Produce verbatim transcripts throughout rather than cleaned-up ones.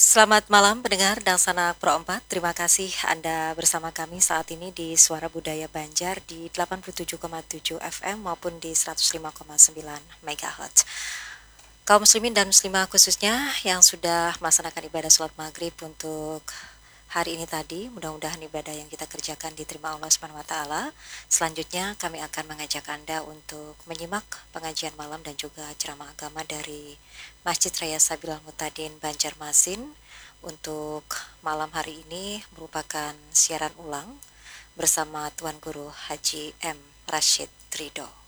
Selamat malam pendengar Dangsanak Pro empat. Terima kasih Anda bersama kami saat ini di Suara Budaya Banjar di delapan puluh tujuh koma tujuh F M maupun di seratus lima koma sembilan megahertz. Kaum muslimin dan muslimah khususnya yang sudah melaksanakan ibadah sholat maghrib untuk hari ini tadi, mudah-mudahan ibadah yang kita kerjakan diterima Allah Subhanahu wa taala. Selanjutnya kami akan mengajak Anda untuk menyimak pengajian malam dan juga ceramah agama dari Masjid Raya Sabilal Mutadin Banjarmasin untuk malam hari ini merupakan siaran ulang bersama Tuan Guru Haji M Rashid Ridho.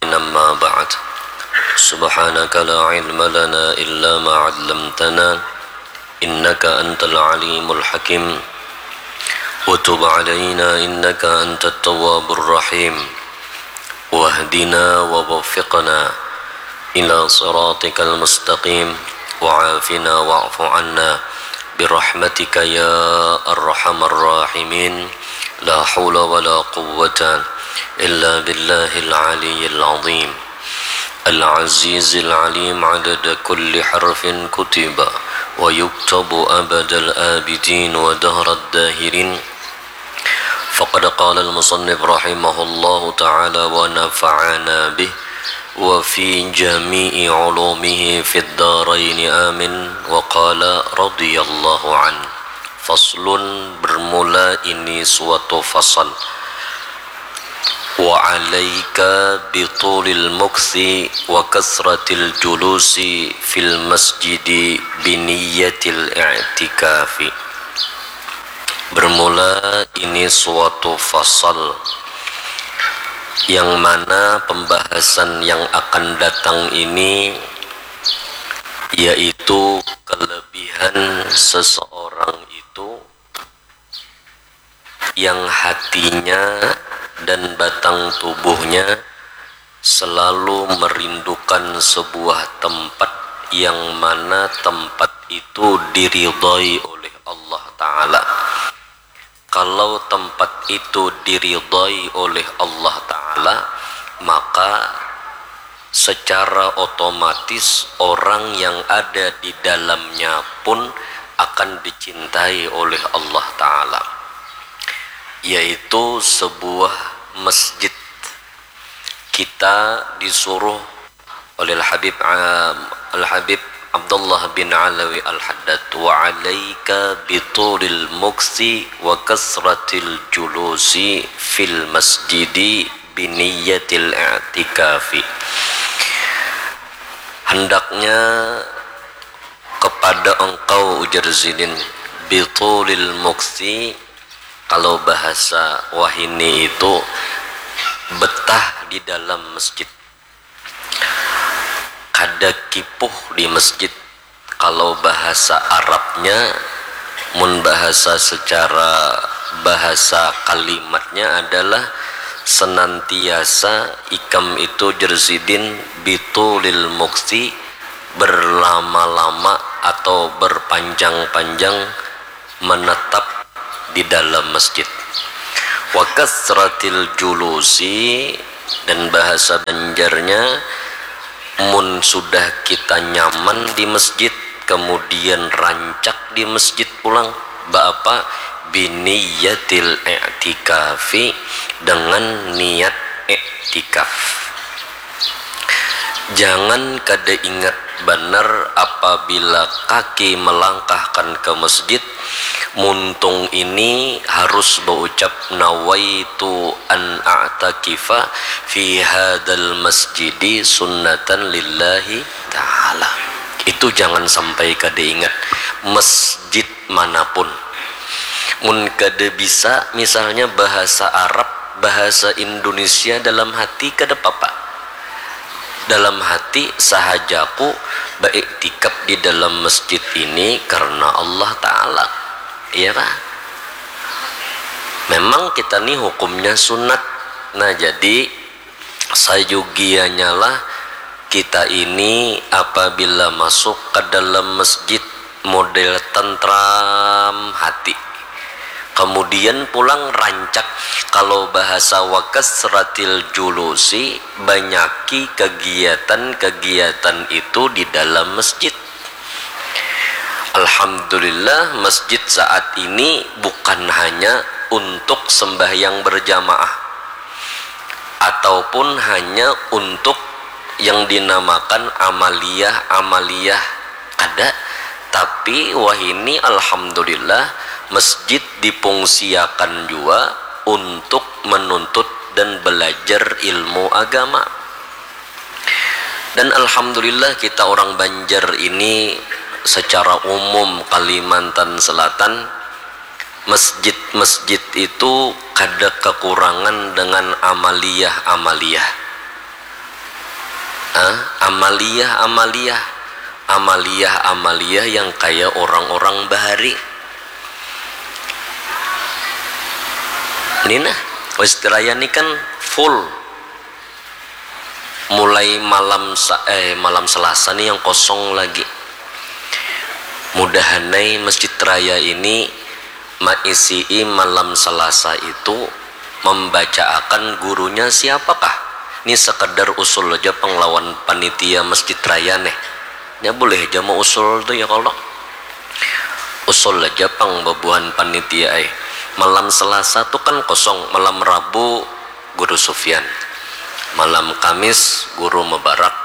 أما بعد. سبحانك لا علم لنا إلا ما علمتنا إنك أنت العليم الحكيم. وتب علينا إنك أنت التواب الرحيم. واهدنا ووفقنا إلى صراطك المستقيم. وعافنا واعف عنا برحمتك يا أرحم الراحمين. لا حول ولا قوة إلا بالله العلي العظيم العزيز العليم عدد كل حرف كتب ويكتب أبد الآبدين ودهر الداهرين. فقد قال المصنف رحمه الله تعالى ونفعنا به وفي جميع علومه في الدارين آمين. وقال رضي الله عنه. Faslun, bermula ini suatu fasal. Wa alaika bitulil mukthi wa kathratil julusi fil masjidi biniyatil i'tikafi. Bermula ini suatu fasal yang mana pembahasan yang akan datang ini yaitu kelebihan seseorang itu yang hatinya dan batang tubuhnya selalu merindukan sebuah tempat yang mana tempat itu diridhai oleh Allah Ta'ala. Kalau tempat itu diridhai oleh Allah Ta'ala, maka secara otomatis orang yang ada di dalamnya pun akan dicintai oleh Allah Ta'ala, yaitu sebuah masjid. Kita disuruh oleh Al-Habib, Al-Habib Abdullah bin Alawi Al-Haddad, wa alaika bitulil muksi wa kasratil julusi fil masjidi biniyatil i'tikafi. Hendaknya kepada engkau, ujar Zidin, bitulil muksi, kalau bahasa wahini itu betah di dalam masjid, kada kipuh di masjid. Kalau bahasa Arabnya, mun bahasa secara bahasa kalimatnya adalah senantiasa ikam itu, jer Zidin, bitulil muksi, berlama-lama atau berpanjang-panjang menetap di dalam masjid. Wa kasratil julusi, dan bahasa Banjarnya, mun sudah kita nyaman di masjid, kemudian rancak di masjid pulang, baapa, biniyatil i'tikafi, dengan niat iktikaf. Jangan kada ingat banar apabila kaki melangkahkan ke masjid, muntung ini harus baucap, nawaitu an a'takifa fi hadal masjidi sunnatan lillahi ta'ala. Itu jangan sampai kada ingat, masjid manapun. Mun kada bisa misalnya bahasa Arab, bahasa Indonesia dalam hati kada papa. Dalam hati, sahajaku baiktikaf di dalam masjid ini karena Allah Ta'ala. Iya kah? Memang kita ni hukumnya sunat. Nah, jadi sayugianya lah kita ini apabila masuk ke dalam masjid model tentram hati, Kemudian pulang rancak, kalau bahasa wa kasratil julusi, banyaki kegiatan-kegiatan itu di dalam masjid. Alhamdulillah, masjid saat ini bukan hanya untuk sembahyang berjamaah ataupun hanya untuk yang dinamakan amaliyah-amaliyah, kada. Tapi wahini, alhamdulillah, masjid dipungsiakan jua untuk menuntut dan belajar ilmu agama. Dan alhamdulillah, kita orang Banjar ini, secara umum Kalimantan Selatan, masjid-masjid itu kada kekurangan dengan amaliyah-amaliyah. Ah, amaliyah-amaliyah. Amaliyah-amaliyah yang kaya orang-orang bahari. Ini nah, Masjid Raya ni kan full. Mulai malam sa-, eh, malam Selasa ni yang kosong lagi. Mudahanai Masjid Raya ini maisii malam Selasa itu membacaakan gurunya siapakah. Ni sekedar usul aja pang lawan panitia Masjid Raya neh. Nya boleh aja mau usul tu ya kalau. Usul aja pang babuhan panitia ai. Malam Selasa tu kan kosong, malam Rabu Guru Sufyan. Malam Kamis Guru Mubarak.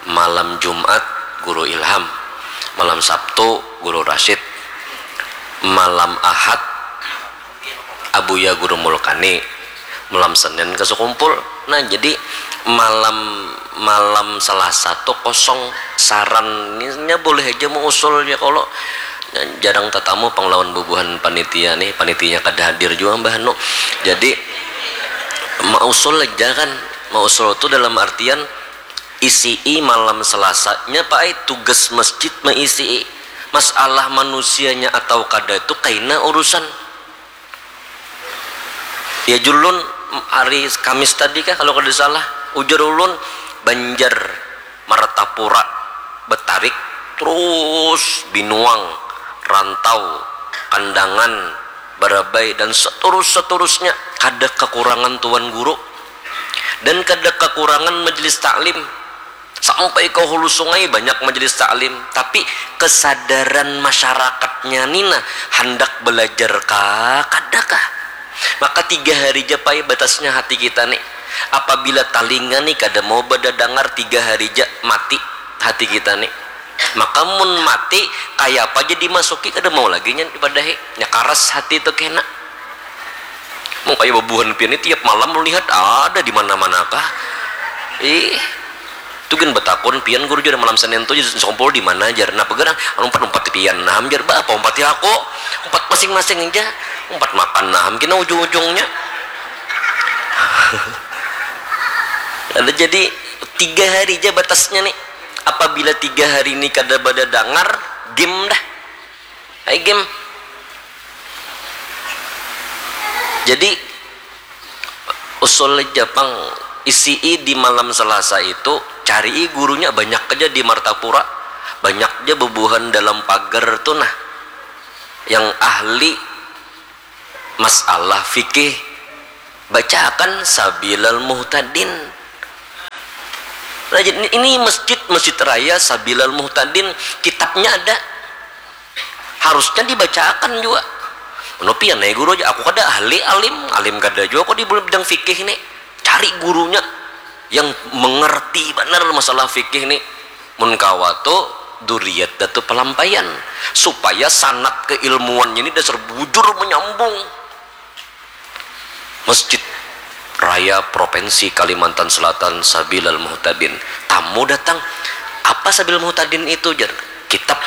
Malam Jumat Guru Ilham. Malam Sabtu Guru Rasyid. Malam Ahad Abuya Guru Mulkani. Malam Senin ke Sekumpul. Nah, jadi malam, malam Selasa tu kosong. Sarannya boleh aja mau usul ya kalau. Jarang tetamu pang lawan bubuhan panitia nih, panitianya kada hadir jua, Mbah Nu. Jadi, mausul aja kan. Mausul tu dalam artian isii malam Selasanya, Pak ai, tugas masjid maisii. Masalah manusianya atau kada tu kaina urusan. Ya, julun hari Kamis tadi kah, kalau kada salah, ujar ulun, Banjar, Martapura, Betarik, terus Binuang, Rantau, Kandangan, Barabai, dan seterus-seterusnya, kada kekurangan tuan guru dan kada kekurangan majelis taklim. Sampai ke hulu sungai banyak majelis taklim, tapi kesadaran masyarakatnya ni nah, handak belajar kah, kada kah? Maka tiga hari ja pai batasnya hati kita ni. Apabila talinga ni kada mau badadangar, tiga hari ja mati hati kita ni. Maka mun mati, kayapa ja dimasuki kada mau lagi nya dipadahi. Nya karas hati tu kena. Mun kaya babuhan pian ni tiap malam melihat ada di mana-mana kah? Ih, tu gin batakun pian guru jar malam Senin tu sekumpul di mana jar. Nah, pagarang anu umpat-umpat pian nah jar, ba apa umpati aku? Umpat masing-masing ja. Umpat makan nah kena ujung-ujungnya. Ada jadi tiga hari ja batasnya nih. Apabila tiga hari ini kada badadangar, game dah. Ai game. Jadi usul aja pang, isii di malam Selasa itu, carii gurunya banyak aja di Martapura, banyak aja bubuhan dalam pagar tu nah, yang ahli masalah fikih, bacaakan Sabilal Muhtadin. Nah, jadi ini masjid, Masjid Raya Sabilal Muhtadin, kitabnya ada. Harusnya dibacaakan jua. Anu pian ai guru aja, aku kada ahli alim, alim kada jua aku di bidang fikih ni. Cari gurunya yang mengerti banar masalah fikih ni. Mun kawa tu duriat Datu Palampaian supaya sanad keilmuannya ni dasar bujur menyambung. Masjid Raya Provinsi Kalimantan Selatan Sabilal Muhtadin. Tamu datang, "Apa Sabilal Muhtadin itu?" jar. "Kitab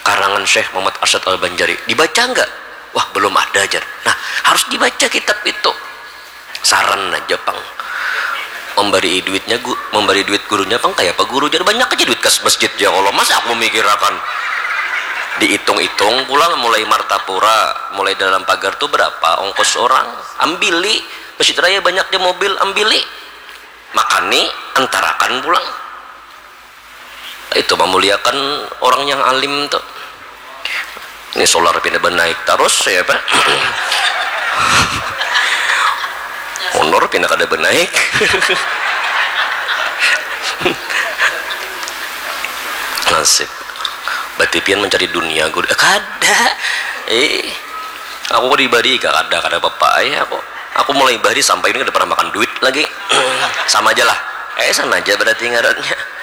karangan Syekh Muhammad Arsyad Al-Banjari. Dibaca enggak?" "Wah, belum ada," jar. "Nah, harus dibaca kitab itu." Saran aja pang. Memberi duitnya gu-, memberi duit gurunya pang kayak apa guru, jadi banyak aja duit kas masjid ya Allah, masa aku memikirakan. Dihitung-hitung pulang, mulai Martapura, mulai dalam pagar tuh berapa ongkos orang, ambili. Masjid Raya banyak di mobil, ambili. Makani, antarakan pulang. Itu memuliakan orang yang alim tuh. Ini solar pina banaik tarus ya, Pak. Honor pina kada banaik. Nasib. Berarti pian mencari dunia, Gur. Eh, kada. Eh, aku pribadi kada, kada apa-apa ai aku. Aku mulai bahari sampai ini kada pernah makan duit lagi. Sama aja lah. Eh, sama aja berarti ngarannya.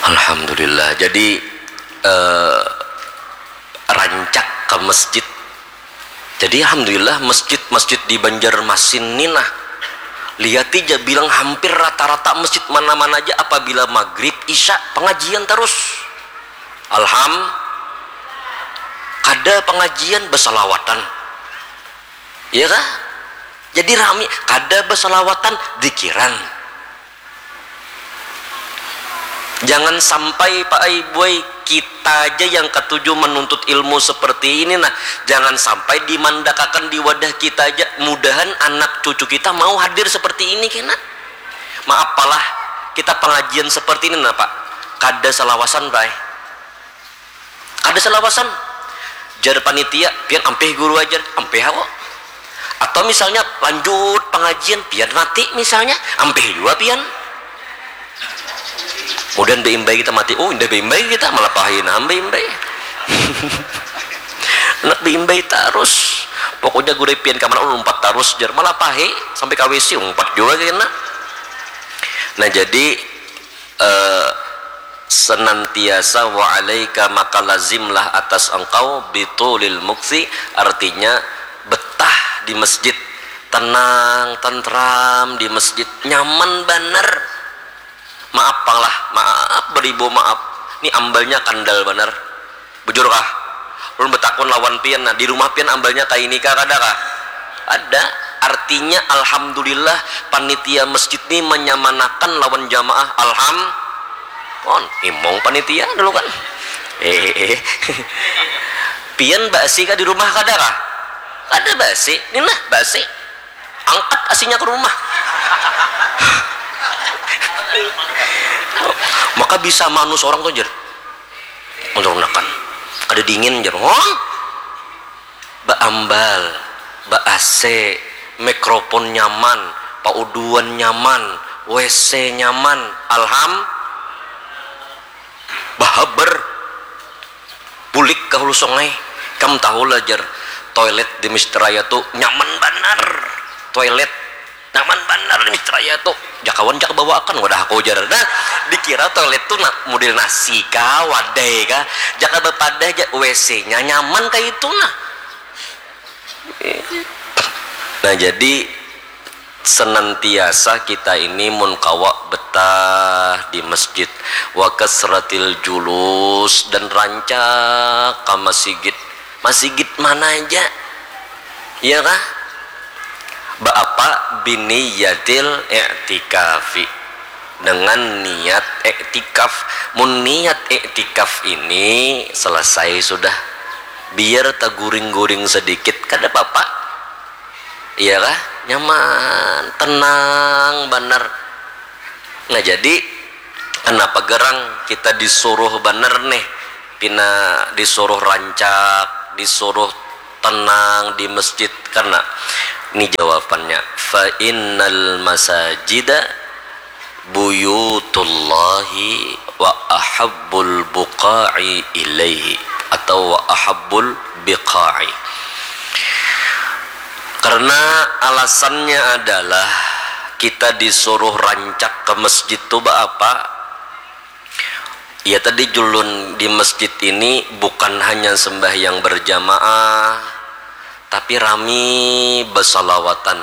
Alhamdulillah. Jadi, eh, rancak ke masjid. Jadi, alhamdulillah, masjid-masjid di Banjarmasin ni nah, lihati ja, bilang hampir rata-rata masjid mana-mana aja apabila maghrib, isya, pengajian terus. Alham, kada pengajian, besalawatan. Iya kah? Jadi rami, kada besalawatan, dikiran. Jangan sampai, Pak ai, Buai, kita aja yang katuju menuntut ilmu seperti ini nah. Jangan sampai dimandakakan di wadah kita aja. Mudahan anak cucu kita mau hadir seperti ini kena. Maaf palah, kita pengajian seperti ini nah, Pak. Kada salawasan, Pak ai. Kada salawasan. Jar panitia, "Pian ampih guru ajar." "Ampih aku." Atau misalnya lanjut pengajian, pian mati misalnya, ampih jua pian. Mudahan beimbai kita mati. Oh, indah beimbai kita, malah pahi nah beimbai. Anak beimbai tarus. Pokoknya guru pian kamana, oh, lumpat tarus, jar. Malah pahi, sampai ka W C, umpat jua kena. Nah, jadi, eh, senantiasa wa alaika, maka lazimlah atas engkau, bitulil muksi, artinya betah di masjid, tenang, tentram di masjid, nyaman banar. Maaf pang lah, maaf beribu maaf, ni ambalnya kandal banar. Bujur kah? Ulun betakun lawan pian, nah, di rumah pian ambalnya kaini kah, kada kah? Ada. Artinya, alhamdulillah, panitia masjid ni menyamanakan lawan jamaah. Alham, on, imong panitia dulu kan. Eh, eh, eh. Pian basi kah di rumah, kada kah? Kada basi. Ni nah, basi. Angkat asinya ke rumah. Maka bisa manus orang tuh, jar. Menurunkan. Kada dingin, jar. Hah? Baambal, ba A C, mikrofon nyaman, pauduan nyaman, W C nyaman. Alham, bahabar. Bulik ka hulu sungai. Kam tahu lah, jar, toilet di Masjid Raya tu nyaman banar. Toilet nyaman banar di Masjid Raya tu. Jakawan, jaka bawaakan wadah aku, jar. Nah, dikira toilet tu na, model nasi kah, wadai kah. Jaka bapadah ja, W C-nya nyaman kaitu nah. Nah, jadi senantiasa kita ini mun kawa betah di masjid, wa kasratil julus, dan rancak ka masigit. Masigit mana aja, iya kah? Baapa? Biniyatil i'tikafi, dengan niat iktikaf. Mun niat iktikaf ini selesai sudah, biar taguring-guring sedikit, kada papa. Iya kah? Nyaman, tenang banar. Nah, jadi kenapa gerang kita disuruh banar nih, pina disuruh rancak, disuruh tenang di masjid? Karena ini jawabannya, fa innal masajida buyutullahi wa ahabbul buqa'i ilaihi, atau wa ahabbul biqa'i. Karena alasannya adalah kita disuruh rancak ke masjid tu baapa? Ya, tadi julun di masjid ini bukan hanya sembahyang berjamaah, tapi rami basalawatan,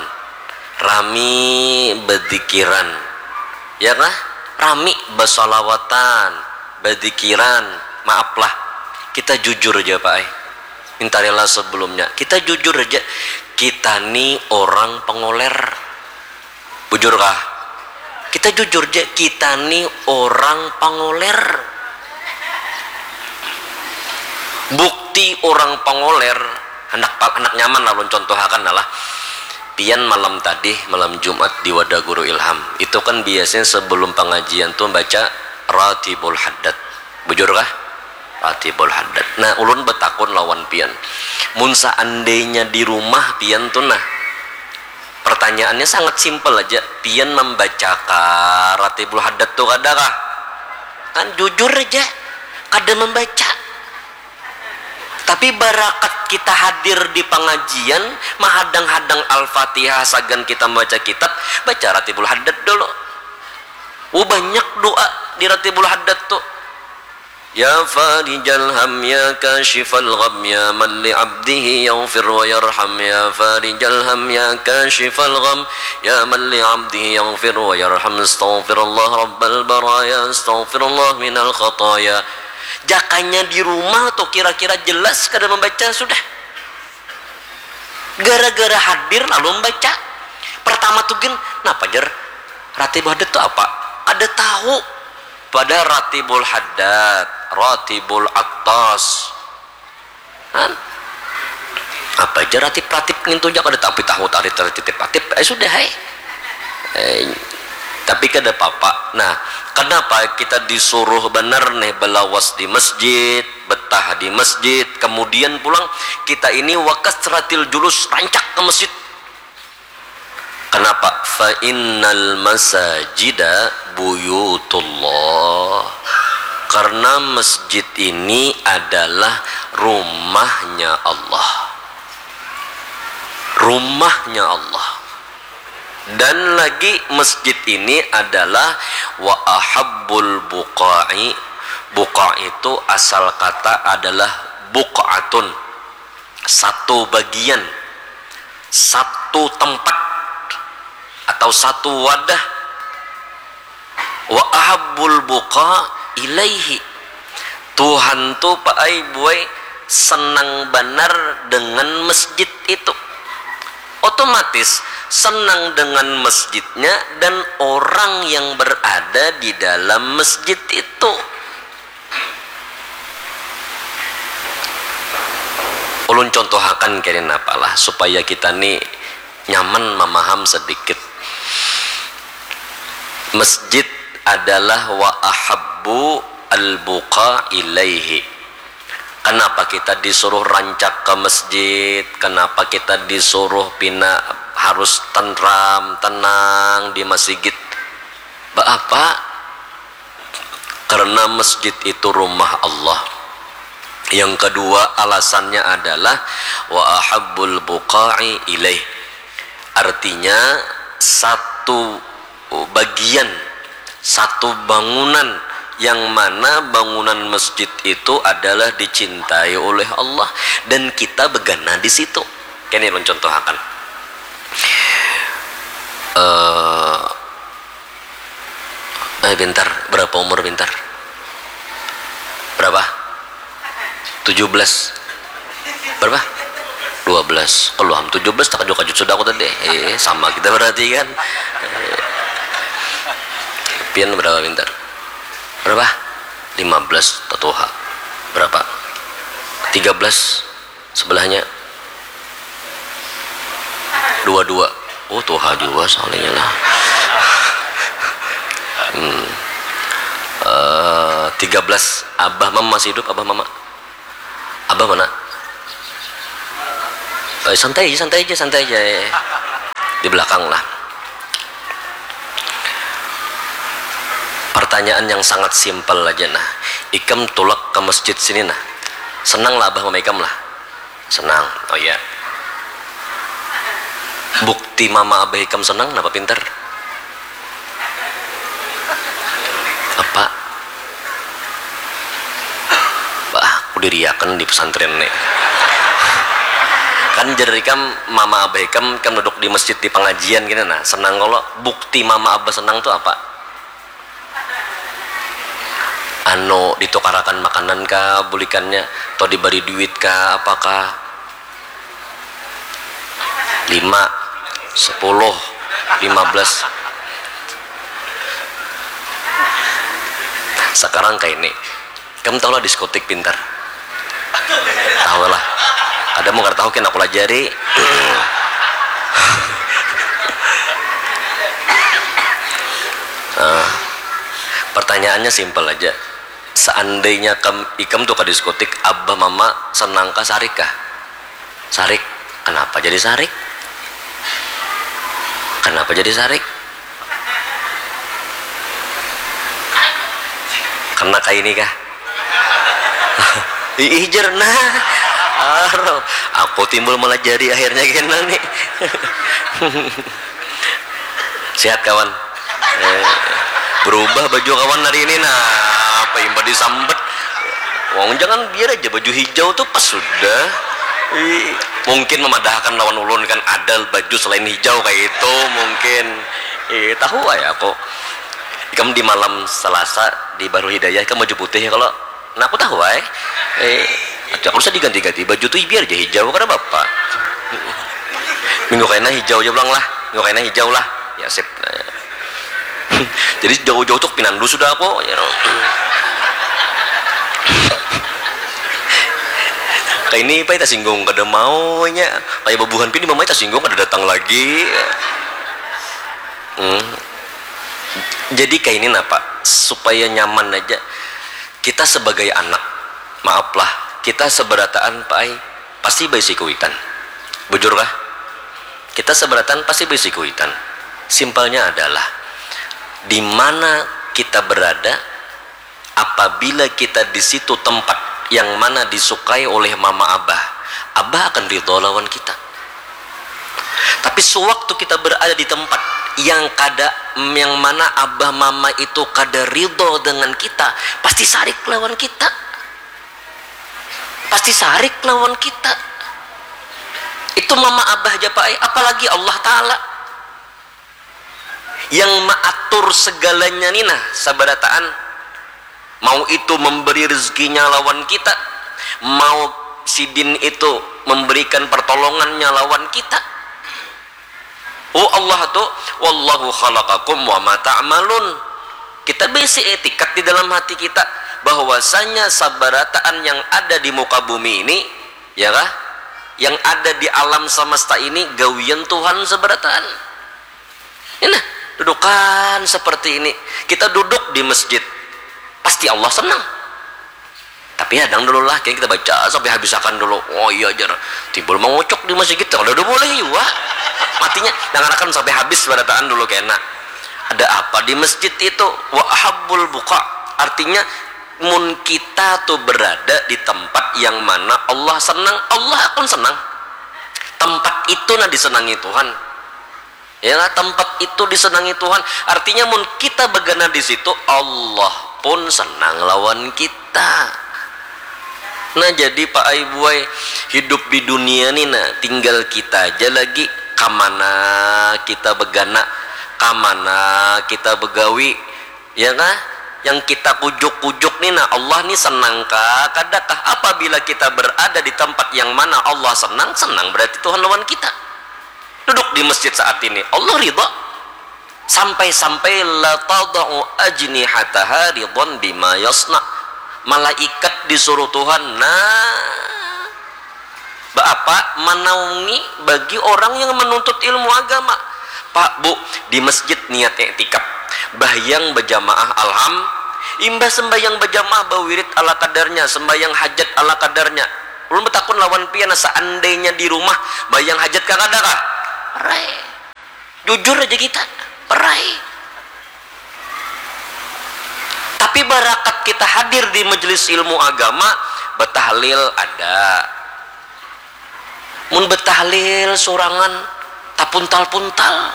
rami badikiran, ya kah? Rami basalawatan, badikiran. Maaf lah, kita jujur aja, Pak ai. Minta rela sebelumnya. Kita jujur aja, kita ni orang pangoler. Bujur kah? Kita jujur ja, kita ni orang pangoler. Bukti orang pangoler, handak pa-, handak nyaman lah ulun contohakan lah. Pian malam tadi, malam Jumat di wadah Guru Ilham, itu kan biasanya sebelum pengajian tuh baca Ratibul haddad. Bujur kah? Ratibul haddad. Nah, ulun betakun lawan pian. Mun seandainya di rumah pian tu nah, pertanyaannya sangat simpel aja. Pian membaca kah Ratibul haddad tu kada kah? Kan jujur aja, kada membaca. Tapi barakat kita hadir di pengajian, mahadang-hadang Al-Fatihah sagan kita membaca kitab, baca Ratibul haddad dulu. Oh, banyak doa di Ratibul haddad tu. Ya farijal ham, ya kashifal gham, ya man li abdihi yaghfir wa yarham, ya farijal ham, ya kashifal gham, ya man li abdihi yaghfir wa yarham, astaghfirullah rabbal baraya, astaghfirullah minal khataya. Jakanya di rumah tu kira-kira jelas kada membaca sudah. Gara-gara hadir lalu membaca. Pertama tu gin, napa jar? Ratibul haddad tu apa? Kada tahu. Pada Ratibul haddad, Ratibul atas. Kan? Apa aja ratib-ratib ngintu ja kada tapi tahu tari tari titip ratib. Eh, sudah hai. Eh, tapi kada apa-apa. Nah, kenapa kita disuruh benar nih belawas di masjid, betah di masjid, kemudian pulang kita ini wakasratil julus, rancak ke masjid. Kenapa? Fa innal masajida buyutullah. Karena masjid ini adalah rumahnya Allah. Rumahnya Allah. Dan lagi masjid ini adalah wa ahabbul buqa'i. Buqa itu asal kata adalah buq'atun, satu bagian, satu tempat, atau satu wadah. Wa ahabbul buqa ilaihi. Tuhan tu paai buai senang banar dengan masjid itu. Otomatis senang dengan masjidnya dan orang yang berada di dalam masjid itu. Ulun contohakan kene napalah supaya kita ni nyaman mamaham sedikit. Masjid adalah wa ahabbu al-buqa ilaihi. Kenapa kita disuruh rancak ke masjid? Kenapa kita disuruh pina harus tenram, tenang di masigit? Baapa? Karena masjid itu rumah Allah. Yang kedua alasannya adalah wa ahabbul buqa'i ilaih. Artinya satu bagian, satu bangunan yang mana bangunan masjid itu adalah dicintai oleh Allah dan kita begana di situ. Kene ulun contohakan. Eh, Eh, pintar. Berapa umur pintar? Berapa? Tujuh belas. Berapa? Dua belas. Kalau ham tujuh belas, takajut-kajut sudah aku tadi. Eh, sama kita berarti kan. Eh, pian berapa pintar? Berapa? Lima belas, tatuha. Berapa? Tiga belas. Sebelahnya dua dua. Oh, tuha juga soalnya lah. Hmm. Eh, tiga belas. Abah mama masih hidup, abah mama? Abah mana? Eh, santai aja, santai aja, santai aja. Di belakang lah. Pertanyaan yang sangat simpel aja nah. Ikam tulak ke masjid sini nah. Senang lah abah mama ikam lah. Senang. Oh iya. Bukti mama abah ikam senang napa pintar? Apa? Bah, aku diriakan di pesantren nih. Kan jadi ikam mama abah ikam kan duduk di masjid di pengajian gini nah. Senang kalau bukti mama abah senang tuh apa? Anu, ditukarakan makanan kah bulikannya, atau dibari duit kah, apakah? Lima, sepuluh, lima belas. Sekarang kayak ini, kamu tahu lah diskotik pintar. Tahu lah. Ada mau nggak tahu kan aku lajari. Eh, Pertanyaannya simpel aja. Seandainya kam, ikam tuh ke diskotik, abah mama senang kah, sarik kah? Sarik. Kenapa jadi sarik? Kenapa jadi sarik? Karena kayak ini kah? Ih, jerna. Aro, aku timbul malah jadi akhirnya kena nih. Sehat kawan. Eh, berubah baju kawan hari ini, nah, apa imba disambet? Wong jangan biar aja baju hijau tuh pas sudah. Ih, mungkin memadahkan lawan ulun kan ada baju selain hijau kayak itu mungkin. Eh, tahu aja aku. Ikam di malam Selasa di Bahrul Hidayah ikam baju putih ya kalau. Nah, aku tahu aja. Eh, aku usah diganti-ganti baju tuh biar aja hijau karena bapak. Minggu kaina hijau aja pulang lah. Minggu kaina hijau lah. Ya sip. Nah, ya. Jadi jauh-jauh tuh pinandu sudah aku. Ya. Kayak ini apa kita singgung kada maunya. Kayak bebuhan pini mamai tersinggung kada datang lagi. Hmm. Jadi kayak ini napa supaya nyaman aja. Kita sebagai anak, maaflah, kita seberataan paai pasti baisi kuitan. Bujur kah? Kita seberataan pasti baisi kuitan. Simpelnya adalah di mana kita berada, apabila kita di situ tempat yang mana disukai oleh mama abah, abah akan ridho lawan kita. Tapi sewaktu kita berada di tempat yang kada, yang mana abah mama itu kada ridho dengan kita, pasti sarik lawan kita. Pasti sarik lawan kita. Itu mama abah aja paai, apalagi Allah Ta'ala yang maatur segalanya ni nah, sabarataan. Mau itu memberi rezekinya lawan kita, mau sidin itu memberikan pertolongannya lawan kita. Oh Allah tu, wallahu khalaqakum wa ma ta'malun. Kita bisi etikat di dalam hati kita bahwasanya sabarataan yang ada di muka bumi ini, ya kah? Yang ada di alam semesta ini gawian Tuhan sabarataan. Ini nah, dudukan seperti ini. Kita duduk di masjid, pasti Allah senang. Tapi hadang dulu lah, kini kita baca sampai habisakan dulu. Oh iya jar, timbul mangucuk di masjid, kada ada boleh jua. Matinya dangarakan sampai habis barataan dulu kena. Ada apa di masjid itu? Wa ahabbul buqa. Artinya mun kita tuh berada di tempat yang mana Allah senang, Allah akan senang. Tempat itu nah disenangi Tuhan. Ya, tempat itu disenangi Tuhan. Artinya mun kita begana di situ, Allah pun senang lawan kita. Nah, jadi Pak Ai Buai, hidup di dunia ni nah, tinggal kita aja lagi kamana kita begana, kamana kita begawi, ya kah? Yang kita kujuk-kujuk ni nah, Allah ni senang kah, kada kah? Apabila kita berada di tempat yang mana Allah senang, senang berarti Tuhan lawan kita. Duduk di masjid saat ini, Allah ridha. Sampai-sampai la tadau ajnihataha ridwan bima yasna. Malaikat disuruh Tuhan, nah, baapa manaungi bagi orang yang menuntut ilmu agama. Pak, Bu, di masjid niat iktikaf, bahyang berjamaah alham, imbah sembahyang berjamaah bawirid ala kadarnya, sembahyang hajat ala kadarnya. Ulun betakun lawan pian, seandainya di rumah bahyang hajat kah kada kah? Rai. Jujur aja kita, perai. Tapi barakat kita hadir di majelis ilmu agama, betahlil ada. Mun betahlil sorangan, tapuntal-puntal.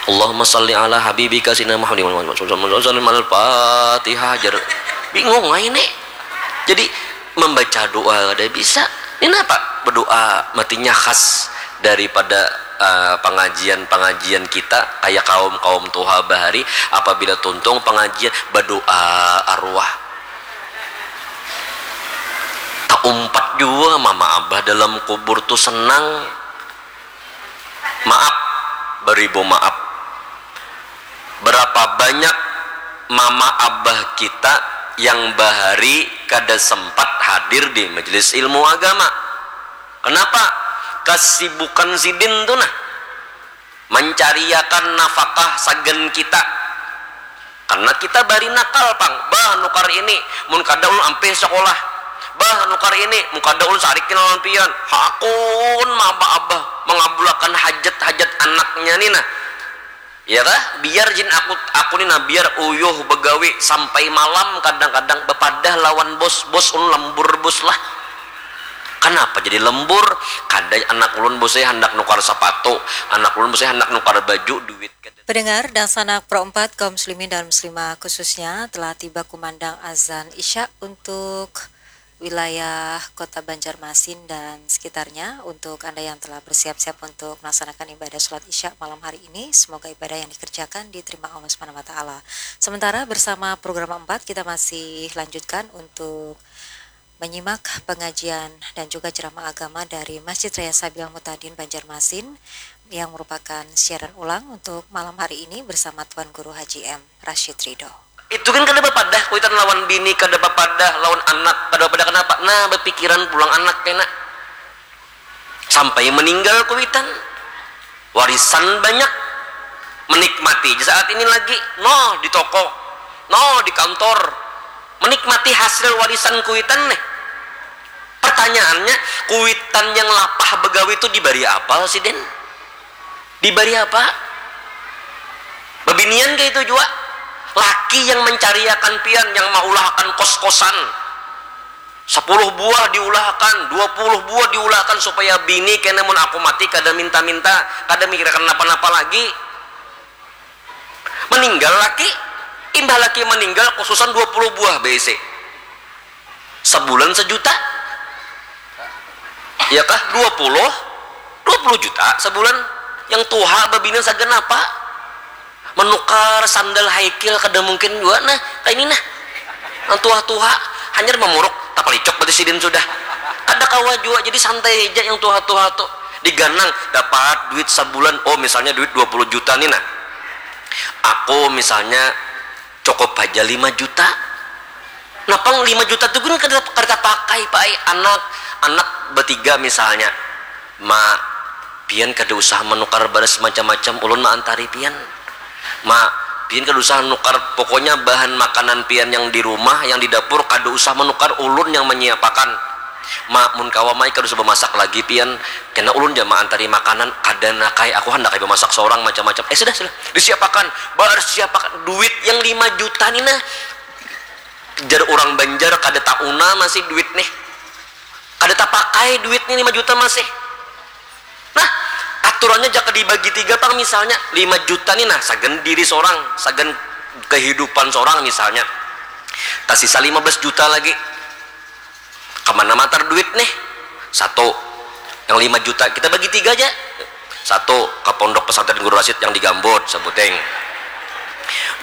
Allahumma salli ala habibika sina Muhammad wa sallam. Al-Fatihah jar. Bingung aja ini. Jadi membaca doa kada bisa. Ini apa? Berdoa matinya khas daripada uh, pengajian-pengajian kita kayak kaum-kaum tuha bahari, apabila tuntung pengajian berdoa arwah. Tak umpat juga mama abah dalam kubur tuh senang. Maaf, beribu maaf. Berapa banyak mama abah kita yang bahari kada sempat hadir di majelis ilmu agama? Kenapa? Kesibukan sidin tuh nah, mencariakan nafkah sagan kita. Karena kita bari nakal pang, bah nukar ini, mun kada ulun ampih sakolah, bah nukar ini, mun kada ulun sarikin lawan pian, hakun maba abah mangabulakan hajat-hajat anaknya ni nah. Ya kah? Biar jin aku aku ni nah biar uyuh begawi sampai malam kadang-kadang bepadah lawan bos, bos ulun lembur bos lah. Kanapa jadi lembur? Kada anak ulun bos saya handak nukar sapatu, anak ulun bos saya handak nukar baju, duit kada. Pendengar dan sanak Pro empat kaum muslimin dan muslimah khususnya telah tiba kumandang azan Isya untuk wilayah Kota Banjarmasin dan sekitarnya. Untuk Anda yang telah bersiap-siap untuk melaksanakan ibadah sholat Isya malam hari ini, semoga ibadah yang dikerjakan diterima Allah Subhanahu wa taala. Sementara bersama program empat kita masih lanjutkan untuk menyimak pengajian dan juga ceramah agama dari Masjid Raya Sabil Mutadin Banjarmasin yang merupakan siaran ulang untuk malam hari ini bersama Tuan Guru Haji M Rashid Ridho. Itu kan kada bapadah kuitan lawan bini, kada bapadah lawan anak, kada bapadah kanapa? Nah, bapikiran pulang anak kena. Sampai meninggal kuitan. Warisan banyak. Menikmati saat ini lagi. Noh di toko. Noh di kantor. Menikmati hasil warisan kuitan nih. Pertanyaannya, kuitan yang lapah begawi itu dibari apa sih, Den? Dibari apa? Bebinian kayak itu juga. Laki yang mencariakan pian, yang maulahakan kos-kosan. Sepuluh buah diulahakan, dua puluh buah diulahakan supaya bini kena mun aku mati kada minta-minta, kada mikirkan napa-napa lagi. Meninggal laki, imbah laki meninggal khususan dua puluh buah B C. Sebulan sejuta. Ya kah? Dua puluh, dua puluh juta sebulan. Yang tuha babina sagan apa? Menukar sandal high heel kada mungkin jua nah, kaini nah. Nang tuha-tuha hanyar mamuruk, tapalicok berarti sidin sudah. Kada kawa jua, jadi santai haja yang tuha-tuha tu. Diganang, dapat duit sabulan, oh misalnya duit dua puluh juta ni nah. Aku misalnya cukup haja lima juta. Napang lima juta tu gin kada, kada tapakai pai anak, anak batiga misalnya. Ma, pian kada usah manukar baras macam-macam, ulun maantari pian. Ma, pian kada usah nukar, pokoknya bahan makanan pian yang di rumah, yang di dapur kada usah manukar, ulun yang manyiapakan. Ma, mun kawa mai kada usah bamasak lagi pian, kena ulun ja maantari makanan, kada nak ai, aku handak ai bamasak sorang macam-macam. Eh sudah sudah, disiapakan, barsiapakan, duit yang lima juta ni nah, jar urang Banjar kada tauna masih duit nih. Kada tapakai duit ni lima juta masih. Nah, aturannya jaka dibagi tiga pang misalnya lima juta ni nah sagan diri sorang, sagan kehidupan sorang misalnya. Tasisa lima belas juta lagi. Kamana matar duit nih? Satu, yang lima juta kita bagi tiga aja. Satu, ke pondok pesantren Guru Rasid yang di Gambut, sebuting.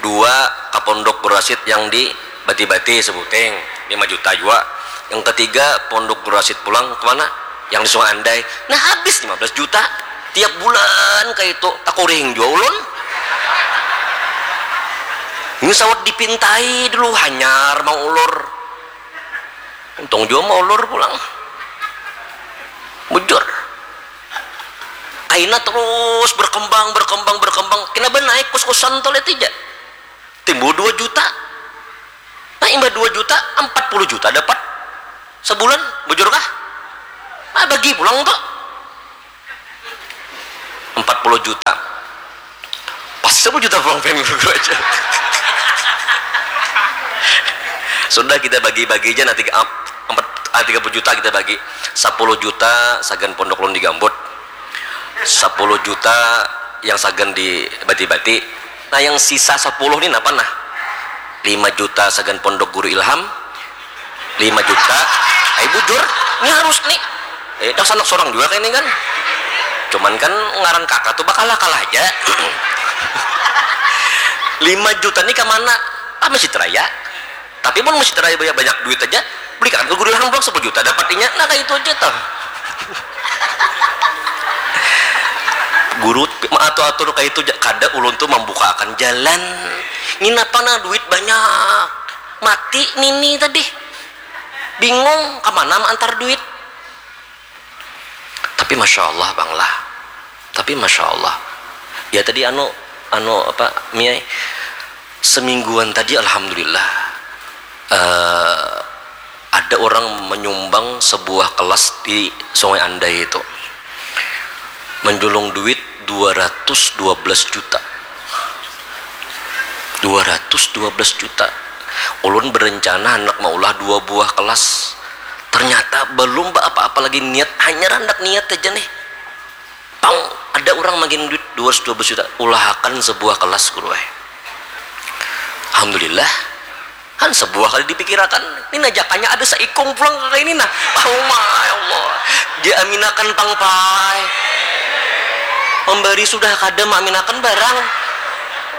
Dua, ke pondok Guru Rasid yang di Bati-Bati, sebuting. Lima juta jua. Yang ketiga, pondok Guru Rasid pulang kemana? Yang di Sungai Andai. Nah, habis lima belas juta. Tiap bulan kayak itu, takuring jua ulun. Ini sawat dipintai dulu, hanyar mau ulur. Untung jua maulur pulang. Bujur. Kaina terus berkembang, berkembang, berkembang. Kena benaik kos-kosan toilet aja. Timbul dua juta. Nah, imbah dua juta, empat puluh juta dapat. Sebulan, bujur kah? Nah, bagi pulang tuh. Empat puluh juta. Pas sepuluh juta pulang pengen guru aja. Sudah kita bagi-bagi aja nanti empat, ah, tiga puluh juta kita bagi. Sepuluh juta sagan pondok ulun di Gambut. Sepuluh juta yang sagan di Bati-Bati. Nah, yang sisa sepuluh ni napa nah? Lima juta sagan pondok guru Ilham, lima juta, ai bujur, ini harus nih. Eh, dah sanak sorang juga kayak ini kan. Cuman kan ngaran kakak tuh bakal kalah aja. Lima juta nih kemana? Ah, Masjid Raya. Tapi pun Masjid Raya banyak, banyak duit aja, beli kan ke guru Ilham pulang sepuluh juta dapatnya. Nah, kayak itu aja tuh. Guru atur-atur kayak itu kada ulun tuh membukakan jalan. Ini apa nah duit banyak. Mati nini tadi. Bingung kemana mengantar duit. Tapi masya Allah bang lah. Tapi masya Allah. Ya tadi anu anu apa Miai. Semingguan tadi, alhamdulillah, eh, ada orang menyumbang sebuah kelas di Sungai Andai itu, menjulung duit dua ratus dua belas juta. Dua ratus dua belas juta. Ulun berencana handak maulah dua buah kelas. Ternyata belum ba apa-apa lagi niat, hanyar handak niat aja nih. Pang, ada urang mangirim duit dua ratus dua belas juta, ulahakan sebuah kelas, guru ai. Alhamdulillah, han sebuah kada dipikirakan. Nina, jakanya ada saikung pulang ka ini nah. Uma, ya Allah. Diaminakan pang, pai. Memberi sudah kada, maaminakan barang.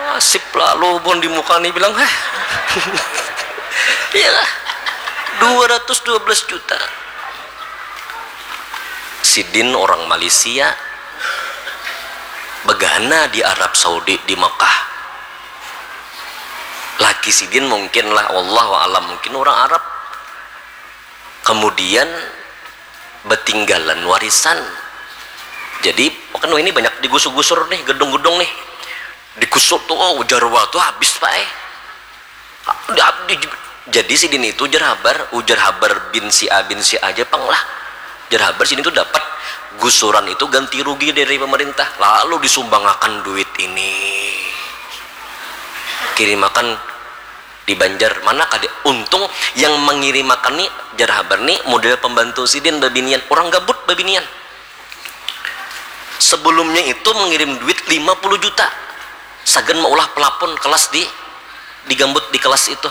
Nasib lalu bon di muka ni bilang, heh. Iyalah. Dua ratus dua belas juta. Sidin orang Malaysia, begana di Arab Saudi, di Mekah. Laki sidin mungkin lah, wallahu alam, mungkin orang Arab. Kemudian betinggalan warisan. Jadi, kan ini banyak digusur-gusur nih, gedung-gedung nih. Digusur tuh, oh, ujar wa tuh habis, Pak, eh. Di, di, jadi sidin itu ujar habar, ujar habar bin si A, bin si A aja pang lah. Ujar habar sidin itu dapat gusuran itu ganti rugi dari pemerintah, lalu disumbangakan duit ini. Kirimakan di Banjar, mana kada untung yang mengirimakan ni, ujar habar ni model pembantu sidin babinian, orang gabut babinian. Sebelumnya itu mengirim duit lima puluh juta. Sagan maulah pelapon kelas di, digambut di kelas itu.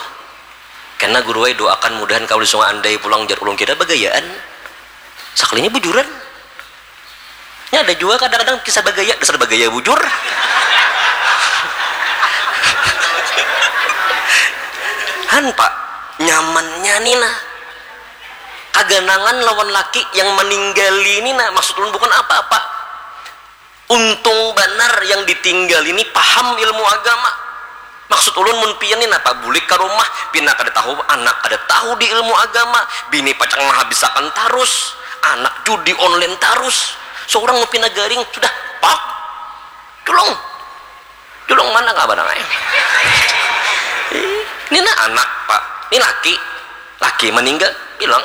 Kena guru ai doakan mudahan kawa di Sungai Andai pulang, jar ulun, kira bagayaan. Sakalinya bujuran. Nya ada jua kadang-kadang kisah bagaya, dasar bagaya bujur. Han, Pak, nyamannya ni nah. Kaganangan lawan laki yang meninggali ni nah, maksud ulun bukan apa-apa. Untung banar yang ditinggal ini paham ilmu agama. Maksud ulun, mun pian ni napa bulik ka rumah, pina kada tahu, anak kada tahu di ilmu agama, bini pacang mahabisakan tarus, anak judi online tarus, seorang mun pina garing sudah, pak, julung, julung mana kabar nang ai? Ih, ni nah anak, Pak, ni laki, laki meninggal, bilang,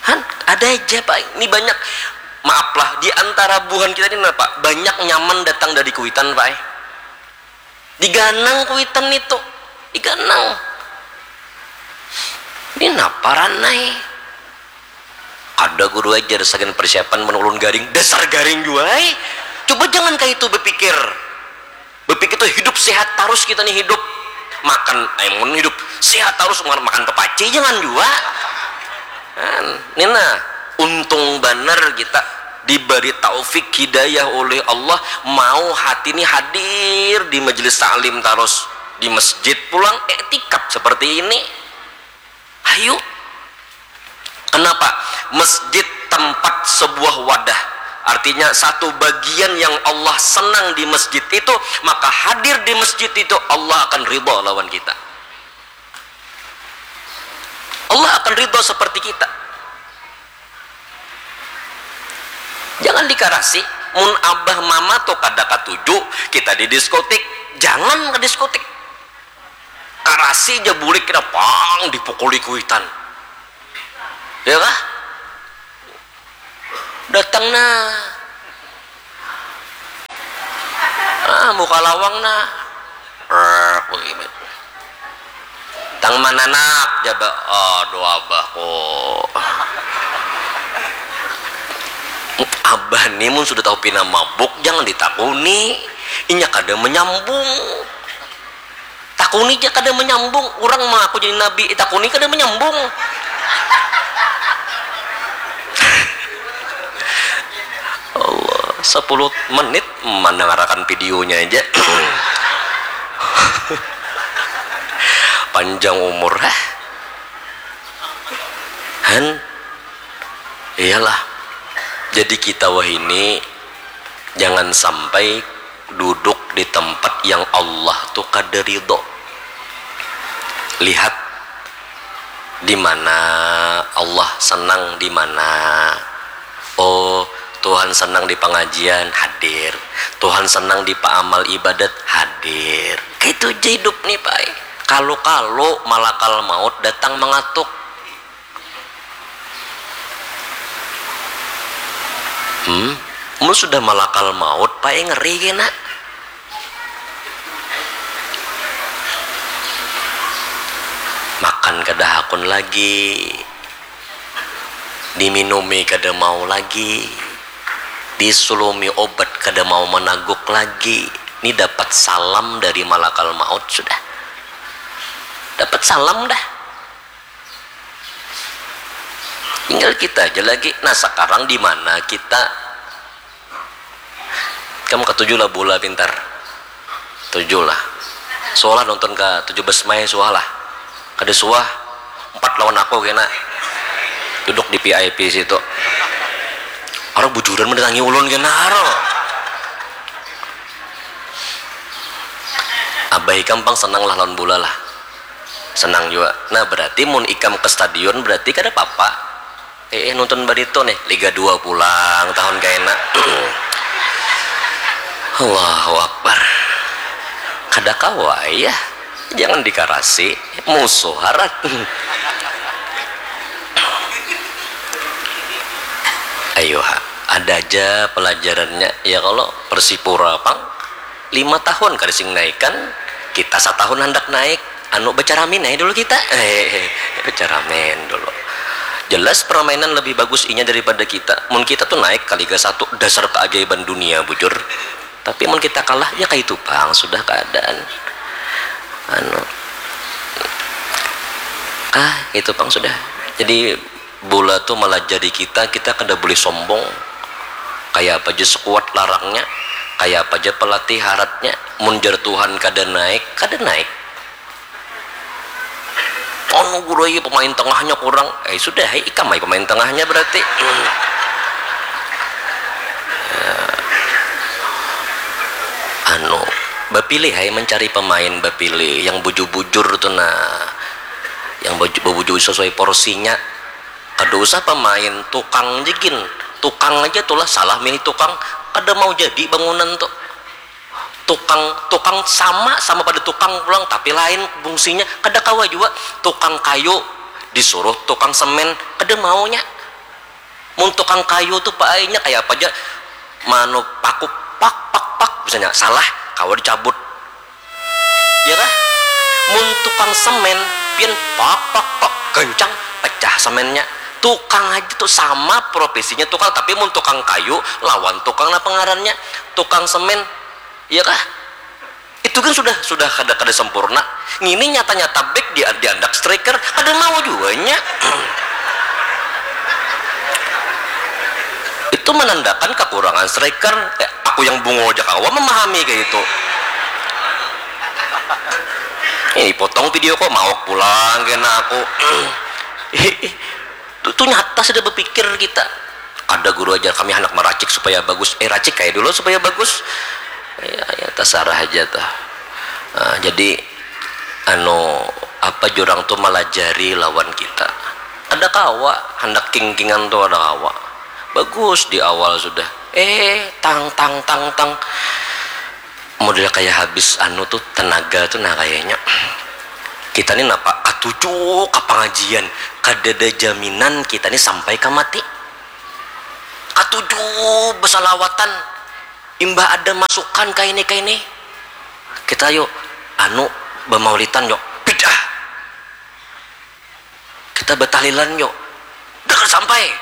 han, ada aja, Pak, ini banyak. Maaf lah, di antara buhan kita ini, Pak, banyak nyaman datang dari Kuitan, Pak, eh. Diganang kuitan nitu, diganang. Ini napa ranai? Kada guru ajar sagan persiapan mun ulun garing, dasar garing jua ai. Coba jangan kaya itu bepikir. Bepikir tu hidup sehat tarus kita ni hidup. Makan, ai mun hidup sehat tarus makan, makan pepaci jangan jua. Kan, nina untung banar kita dibari taufik hidayah oleh Allah, mau hati ni hadir di majelis taklim tarus, di masjid pulang, iktikaf seperti ini. Hayu. Kenapa? Masjid tempat sebuah wadah. Artinya satu bagian yang Allah senang di masjid itu, maka hadir di masjid itu Allah akan ridha lawan kita. Allah akan ridha seperti kita. Jangan dikarasi, mun abah mama tu kada katuju kita di diskotik, jangan ke diskotik. Karasi ja bulik kita pang dipukuli kuitan. Ya kah? Datang nah. Ah, muka lawang nah. Rrrr, begini. Tang mananak jaba, aduh abahku. Abah ni mun sudah tahu pina mabuk jangan ditakuni, inya kada menyambung. Takuni ja kada menyambung, urang mangaku jadi nabi, eh, takuni kada menyambung. Allah, sepuluh menit mandangarakan videonya aja. Panjang umur, hah? Han? Iyalah. Jadi kita wahini jangan sampai duduk di tempat yang Allah tu kada ridho. Lihat di mana Allah senang, di mana. Oh, Tuhan senang di pengajian, hadir. Tuhan senang di paamal ibadat, hadir. Kayak Itu ja hidup nih, Pak. Kalu-kalu malakal maut datang mangatuk. Hmm, mun sudah malakal maut, Pak, ngeri kena. Makan kada hakun lagi, diminumi kada mau lagi, disulumi obat kada mau managuk lagi. Ni dapat salam dari malakal maut sudah. Dapat salam dah. Tinggal kita aja lagi. Nah, sekarang di mana kita? Kamu ketujuh lah bola pintar. Tujuh lah. Suah lah nonton ke tujuh belas Mei, suah lah. Kada suah. Empat lawan aku kena. Duduk di V I P situ. Orang bujuran mendatangi ulun kena, aro. Abah ikam pang senang lah lawan bola lah. Senang juga. Nah, berarti mun ikam ke stadion berarti kada apa-apa. Eh, eh, nonton barito nih, Liga dua pulang tahun kaina. Allahu Akbar. Kada kawa ya. Jangan dikarasi, musuh harat. Ayo ha, ada aja pelajarannya ya, kalau Persipura pang lima tahun kada sing naikan, kita satahun handak naik, anu, becaramin aja dulu kita. Becaramin dulu. Jelas permainan lebih bagus inya daripada kita. Mun kita tuh naik ke Liga satu, dasar keajaiban dunia, bujur. Tapi mun kita kalah, ya kayak itu pang sudah keadaan. Anu, ah, itu pang sudah. Jadi bola tuh melajari kita, kita kada boleh sombong. Kayak apa aja sekuat larangnya, kayak apa aja pelatih haratnya, mun jar Tuhan kada naik, kada naik. Anu guru, iya pemain tengahnya kurang. Eh, sudah, hai, ikam ai pemain tengahnya berarti. Hmm. Ya. Anu, bapilih hai, mencari pemain, bapilih yang bujur-bujur tuh, nah. Yang bujur-bujur sesuai porsinya. Kada usah pemain tukang aja gin. Tukang aja tuh lah salah milih tukang, kada mau jadi bangunan tuh. Tukang, tukang sama, sama pada tukang pulang, tapi lain fungsinya, kada kawa jua. Tukang kayu disuruh tukang semen, kada maunya. Mun tukang kayu tuh, Pak, ai, nya kaya apa ja, manu paku, pak, pak, pak, misalnya salah, kawa dicabut. Ya kah? Mun tukang semen, pian pak, pak, pak, gancang, pecah semennya. Tukang aja tuh sama profesinya tukang, tapi mun tukang kayu lawan tukang napa ngarannya? Tukang semen. Iya kah? Itu kan sudah, sudah kada, kada sempurna. Ngini nyata-nyata back di, diandak striker, kada mau jua nya. Itu menandakan kekurangan striker. Eh, aku yang bungul aja kawa memahami kayak itu. Ini potong video kok, mawak pulang kena aku. Tuh, tuh nyata sudah berpikir kita. Ada guru ajar kami, hendak meracik supaya bagus. Eh, racik kayak dulu supaya bagus. Ya, ya, terserah aja tuh. Nah, jadi, anu, apa jurang tuh melajari lawan kita. Ada kawa, hendak king-kingan tuh ada kawa. Bagus di awal sudah. Eh, tang, tang, tang, tang. Model kayak habis anu tuh, tenaga tuh, nah, kayaknya. Kita nih napa? Katuju ka pengajian. Kada ada jaminan kita nih sampai ka mati. Katuju besalawatan. Imbah ada masukan kaini, kaini. Kita yuk, anu, bamaulitan yuk. Bid'ah. Kita batahlilan yuk. Dah sampai.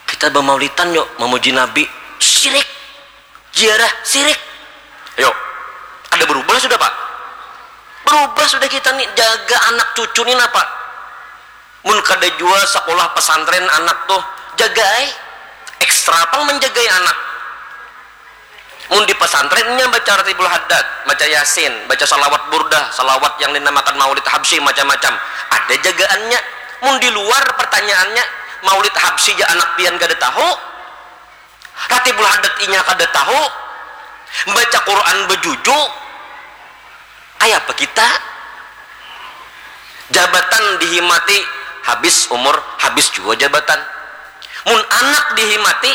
Kita bamaulitan yuk, memuji Nabi. Syirik. Ziarah, syirik. Ayo. Ada berubah sudah, Pak? Berubah sudah kita nih, jaga anak cucu nih napa? Mun kada jua sekolah pesantren anak tuh, jagai. Ekstra pang menjagai anak. Mun di pesantrennya baca Ratibul Haddad, baca Yasin, baca salawat burdah, salawat yang dinamakan maulid habsyi, macam-macam. Ada jagaannya. Mun di luar pertanyaannya, maulid habsyi ja anak pian kada tahu, Ratibul Haddad inya kada tahu, baca Quran bejuju, kaya apa kita? Jabatan dihimati, habis umur, habis jua jabatan. Mun anak dihimati,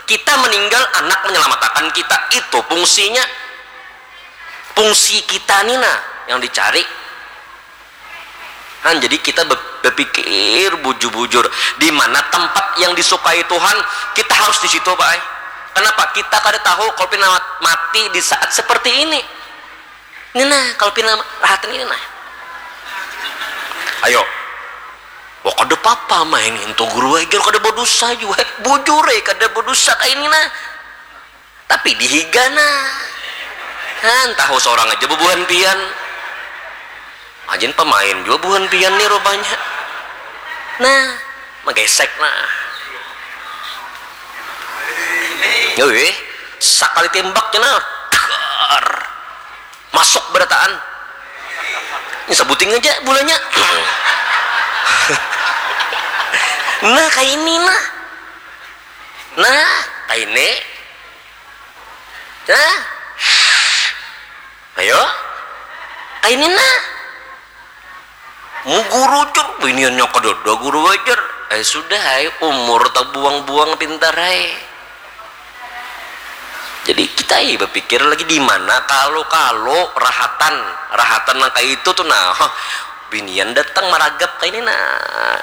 kita meninggal, anak menyelamatakan kita, itu fungsinya. Fungsi kita ni nah yang dicari. Nah, jadi kita be- berpikir bujur-bujur di mana tempat yang disukai Tuhan, kita harus di situ, Pak. Kenapa? Kita kada tahu kalau pina mati di saat seperti ini. Ini nah, kalau pina rahatan ini nah. Ayo. Wah, kada papa main itu guru aja kada berdosa juga. Bujur eh, kada berdosa kayak ini nah. Tapi dihiga nah. Nah, tahu seorang aja bebuhan pian. Ajin pemain juga buhan pian nih rupanya. Nah, menggesek nah. Wih, sakali tembaknya nah. Dar. Masuk berataan. Ini sebuting aja bulanya. Nah, kayak ini nah. Nah, kayak ini. Nah. Ayo. Kayak ini nah. Mu guru cur, biniannya kedua guru wajar. Eh sudah, ay, umur tabuang-buang pintar ay. Jadi kita ay, berpikir lagi di mana kalau kalau rahatan rahatan nang kayak itu tuh nah. Binian datang maragap kayak ini nah.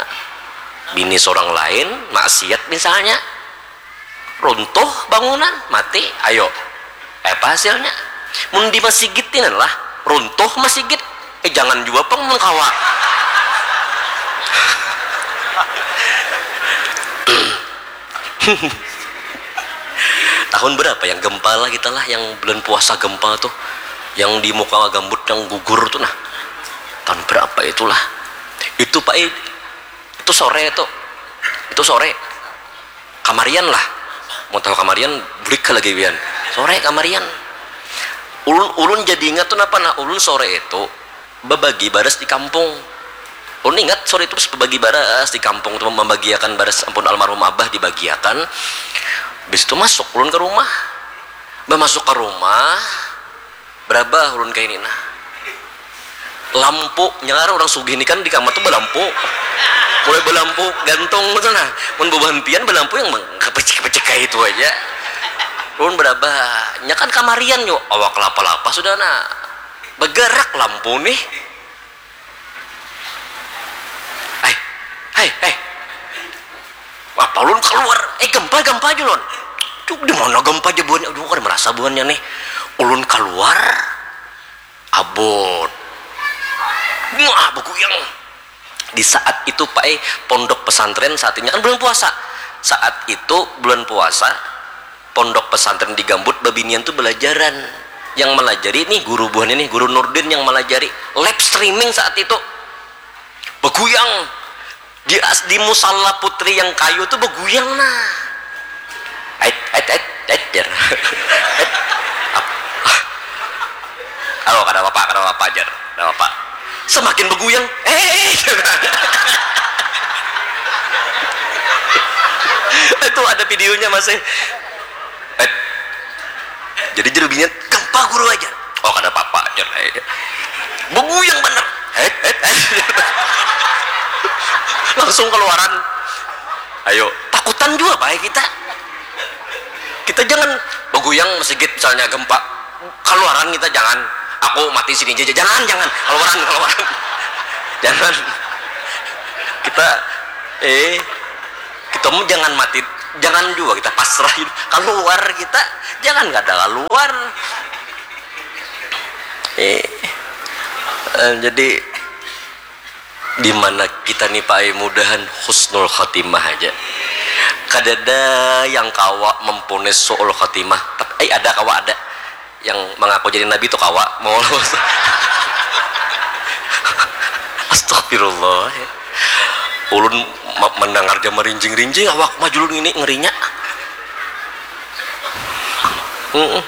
Bini seorang lain maksiat misalnya. Runtuh bangunan, mati, ayo. Apa hasilnya? Mun di masigit ini lah, runtuh masigit. Eh jangan jua pang mun kawa. Tahun berapa yang gempa lah kita lah, yang bulan puasa gempa tuh, yang di muka gambut yang gugur tuh nah. Tahun berapa itulah? Itu Pak, itu sore tuh. Itu sore. Kamarian lah. Mau tahu kamarian, bulik ke lagi wian. Sore kamarian. Ulun ulun jadi ingat tuh napa nah, ulun sore itu bebagi baras di kampung. Ulun ingat sore itu pas bebagi baras di kampung tuh, membagiakan baras ampun almarhum abah dibagiakan. Habis itu masuk ulun ke rumah. Bah masuk ke rumah, berabah ulun kayak ini nah. Lampu, nyalar orang sugih ini kan di kamar tuh belampu. Mulai belampu gantung gitu nah. Mun bebuhan pian belampu yang kepecik-kepecik kayak itu aja. Ulun berabah, nya kan kamarian yo, awak kelapa-lapa sudah nah. Bergerak lampu nih. Hai, hai, hai. Apa ulun keluar? Eh gempa, gempa aja ulun. Cuk, di mana gempa aja buahnya? Aduh, kan merasa buahnya nih. Ulun keluar, abot. Wah, beguyang. Di saat itu Pak eh pondok pesantren saat ini kan bulan puasa. Saat itu bulan puasa, pondok pesantren di Gambut babinian tuh belajaran. Yang melajari nih guru buahnya nih, guru Nurdin yang melajari live streaming saat itu. Beguyang di as di musala putri yang kayu tuh beguyang nah. Ait ait ait ait jar. Ait. Ap- Halo, kada apa-apa, kada apa-apa jar. Kada apa-apa. Semakin beguyang, eh itu ada videonya masih. Eh. Jadi jerubinya gempa guru aja. Oh kada apa-apa aja. Beguyang bener. Eh, eh, eh. Langsung keluaran. Ayo, takutan juga baik kita. Kita jangan beguyang masjid misalnya gempa. Keluaran kita jangan. Aku mati sini aja. Jangan, jangan. Keluaran, keluaran. Jangan. Kita eh kita mau jangan mati, jangan juga kita pasrahin. Keluar kita, jangan kada keluar. Eh, eh, jadi di mana kita nih Pak ai mudahan husnul khotimah aja. Kadada yang kawa memponis suul khotimah. Tapi ai ada kawa ada yang mengaku jadi nabi itu kawa mau. Astagfirullah. Ulun mendengar dia merinjing-rinjing awak majulun ini ngerinya. Mm-mm.